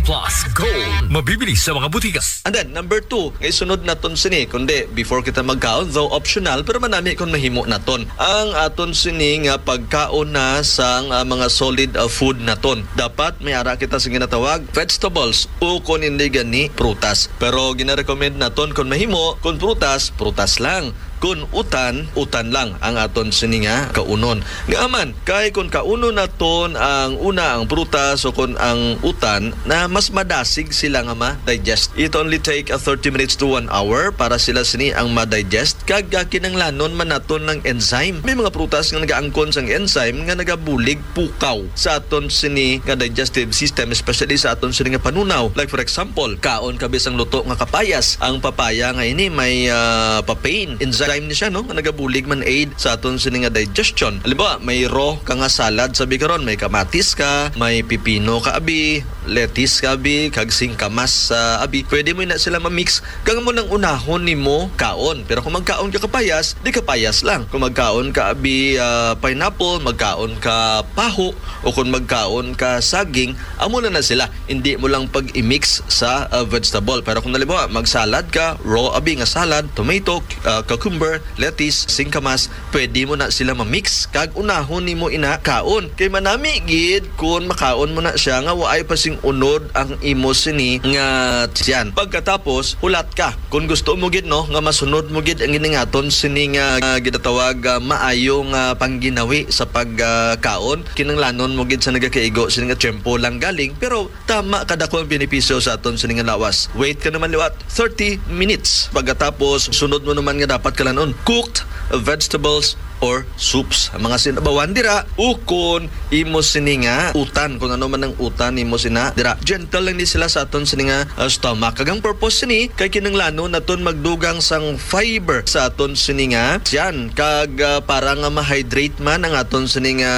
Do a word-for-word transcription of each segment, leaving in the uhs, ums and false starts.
Plus Gold. Mabibili sa mga butika. And then, number two, nga isunod naton sini, kundi before kita magkaon, though optional, pero manami kung mahimo naton. Ang aton sini nga pagkaon na sang, ah, mga solid, ah, food naton. Dapat may ara kita sa ginatawag vegetables o kung hindi gani prutas. Pero ginarecommend naton kung mahimo, kung prutas, prutas lang. Kung utan, utan lang ang aton sini nga kaunon. Nga man, kay kung kaunon naton ang una, ang prutas o kung ang utan, na mas madasig sila nga ma-digest. It only take a thirty minutes to one hour para sila sini ang ma-digest. Kag, ah, kinanglanon man naton ng enzyme. May mga prutas nga nagaangkon sang enzyme nga nagabulig pukaw sa aton sini nga digestive system, especially sa aton sini nga panunaw. Like, for example, kaon ka bisang luto nga kapayas. Ang papaya nga ini may, ah, papain enzyme ni siya, no, nga nagabulig man aid sa aton sini nga digestion. Halimbawa, may raw ka nga salad sa bikaron, may kamatis ka, may pipino ka abi, lettuce ka abi, kag singkamas sa abi. Pwede mo na sila ma-mix kag mo nang unahon nimo kaon. Pero kung magkaon ka kapayas, di kapayas lang. Kung magkaon ka abi, ah, pineapple, magkaon ka paho, o kung magkaon ka saging, amo na na sila. Hindi mo lang pag-i-mix sa, ah, vegetable. Pero kung halimbawa, magsalad ka, raw abi nga salad, tomato, ah, cucumber, lettuce, singkamas, pwede mo na sila ma-mix kag unahon nimo ina kaon. Kay manami gid kung makaon mo na siya nga waay pa sing unod ang imo sini nga tiyan. Pagkatapos, hulat ka. Kung gusto mo gid, no, nga masunod mo gid ang giningaton sini nga, ah, ginatawag, ah, maayo nga pangginawi sa pagkaon, kinanglanon mo gid sa nagakaigo sini nga tiyempo lang galing, pero tama kadako ang benepisyo sa aton sini nga lawas. Wait ka naman liwat thirty minutes. Pagkatapos, sunod mo naman nga dapat kalanon, cooked vegetables or soups. Ang mga sinabawan dira, ukon imo sini nga utan, kung ano man ang utan imo sina dira. Gentle lang ni sila sa aton sini nga, uh, stomach. Kag ang purpose sini kay kinanglanon naton magdugang sang fiber sa aton sini nga tiyan. Kag, uh, para nga ma-hydrate man ang aton sini nga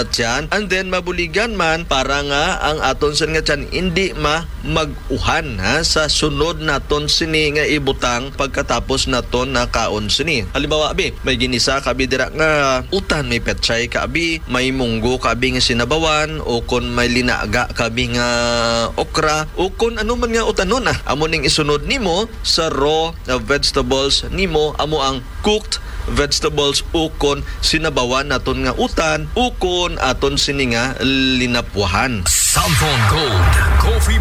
tiyan, and then mabuligan man para nga ang aton sini nga tiyan hindi ma mag-uhan, ha, sa sunod naton sini nga ibutang pagkatapos naton nakaon sini. Halimbawa, abi, may ginisa ka abi dira nga utan, may petchay ka abi, may munggo ka abi nga sinabawan, o kon may linaga ka abi nga okra, o kon ano man nga utanon, ah. Amo ning isunod nimo sa raw, ah, vegetables nimo, amo ang cooked vegetables o kon sinabawan naton nga utan o kon aton sini nga linapwahan. Samson Gold Coffee